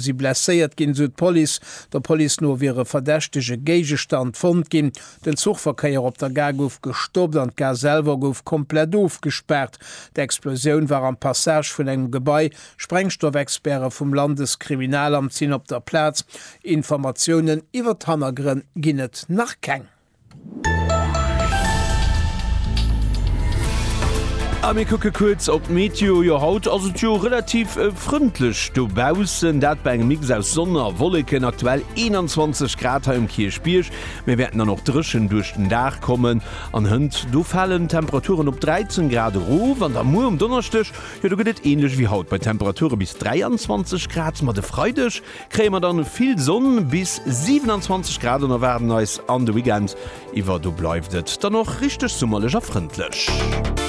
Si blesséiert ginn, esou d'Police. Der Police no wier e verdächtege Géigestand fonnt ginn. Den Zuchverkéier op der Gare gouf gestoppt an d'Gare selwer gouf komplett ofgespaart. D'Explosioun war am Passage vun engem Gebai. Sprengstoffexperte vum Landeskriminalamt sinn op der Plaz. Informatiounen iwwer d'Hannergrënn ginn et nach keng. A mir kucke kuerz op d'Meteo. Jo, haut ass et jo relativ frëndlech dobaussen, dat bei engem Mix aus Sonn a Wolleken. Aktuell 21 Grad hei um Kierchbierg. Mir wäerten dann och dréchen duerch den Dag kommen an hënt do falen d'Temperaturen op 13 Grad erof. An da muer um Donneschdeg, jo do gëtt et änlech wéi haut bei Temperature bis 23 Grad. Ma de Freideg kréie mer dann vill Sonn, bis 27 Grad an erwaarden eis an de Weekend iwwer. Do bleift et dann och richteg summerlech a frëndlech.